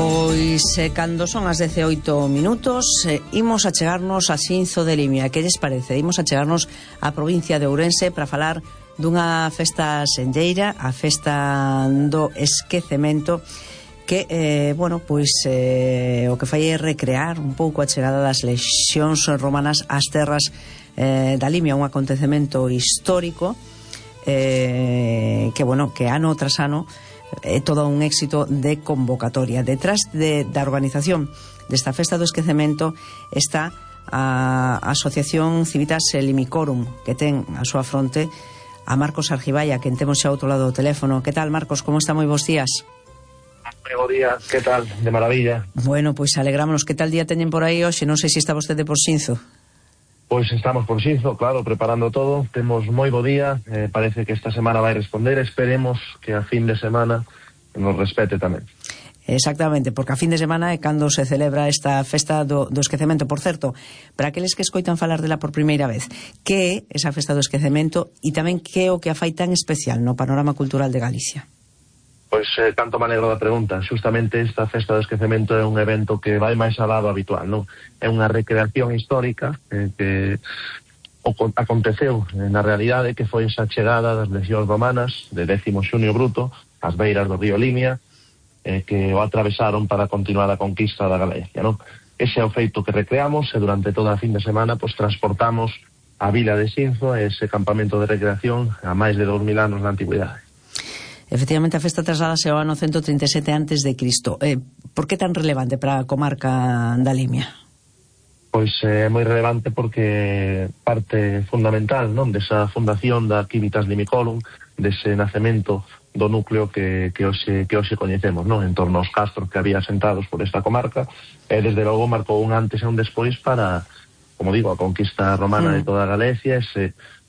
Pois cando son as 18 minutos imos a chegarnos a Xinzo de Limia. Que lles parece? Imos a chegarnos á provincia de Ourense para falar dunha festa senlleira, a festa do esquecemento, que, o que fai é recrear un pouco a chegada das lexións romanas ás terras da Limia, un acontecemento histórico que ano tras ano é todo un éxito de convocatoria. Detrás da organización desta festa do esquecemento está a Asociación Civitas Limicorum, que ten a súa fronte a Marcos Argiballa, que temos xa ao outro lado do teléfono. Que tal, Marcos? Como está? Moi bons días. Moi bons días, que tal? De maravilla. Bueno, pois alegrámonos. Que tal día teñen por aí hoxe? Non sei se está vostede por Xinzo. Pois estamos por Xinzo, claro, preparando todo. Temos moi bo día, parece que esta semana vai responder. Esperemos que a fin de semana nos respete tamén. Exactamente, porque a fin de semana é cando se celebra esta festa do esquecemento. Por certo, para aqueles que escoitan falar dela por primeira vez, que é esa festa do esquecemento e tamén que é o que a fai tan especial no panorama cultural de Galicia? Pois tanto me alegro da pregunta. Justamente esta festa do esquecemento é un evento que vai máis alá do habitual, non? É unha recreación histórica que aconteceu na realidade, que foi esa chegada das lexións romanas de Décimo Xunio Bruto ás beiras do río Limia, que o atravesaron para continuar a conquista da Galicia, non? Ese é o feito que recreamos, e durante toda a fin de semana transportamos a vila de Xinzo, ese campamento de recreación a máis de 2000 anos da antigüidade. Efectivamente, a festa trasladase ao ano 137 antes de Cristo. Por que tan relevante para a comarca da Limia? Pois é moi relevante porque parte fundamental, non, desa fundación da Civitas Limicorum, dese nacemento do núcleo que hoxe coñecemos, non, en torno aos castros que había asentados por esta comarca, e desde logo marcou un antes e un despois para, como digo, a conquista romana de toda a Galicia,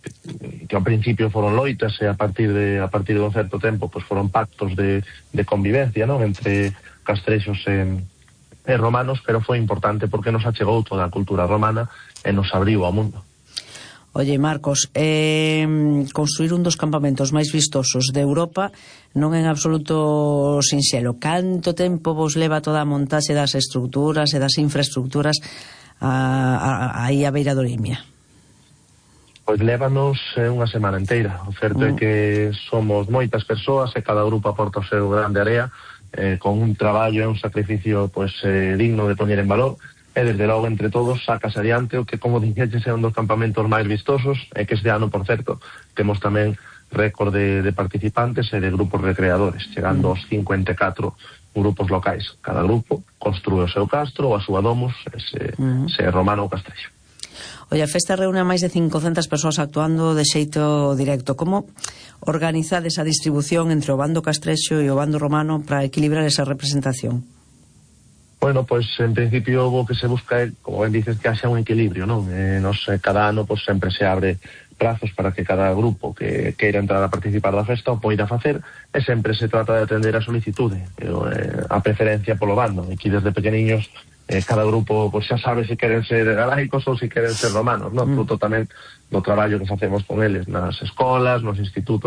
que ao principio foron loitas, e a partir de un certo tempo pois foron pactos de convivencia, non, entre castrexos e romanos, pero foi importante porque nos achegou toda a cultura romana e nos abriu ao mundo. Oye, Marcos, construir un dos campamentos máis vistosos de Europa non é en absoluto sinxelo. Canto tempo vos leva toda a montaxe das estructuras e das infraestructuras aí a beira do Limia? Pois lévanos unha semana inteira. O certo é que somos moitas persoas e cada grupo aporta o seu grande área, con un traballo e un sacrificio digno de poñer en valor, e desde logo entre todos sacas adiante o que, como dixeches, é un dos campamentos máis vistosos, e que este ano, por certo, temos tamén récord de participantes e de grupos recreadores, chegando aos 54 grupos locais. Cada grupo construe o seu castro ou a súa domus, se é romano ou castrexo. Oye, a festa reúne a máis de 500 persoas actuando de xeito directo. Como organizades a distribución entre o bando castrexo e o bando romano para equilibrar esa representación? Bueno, pois en principio o que se busca é, como ben dices, que haxa un equilibrio, non? Cada ano sempre se abre prazos para que cada grupo que queira entrar a participar da festa o poida facer, e sempre se trata de atender a solicitude, a preferencia polo bando. Aquí desde pequeniños cada grupo xa sabe se queren ser galaicos ou se queren ser romanos, non? Fruto tamén do traballo que facemos con eles nas escolas, nos institutos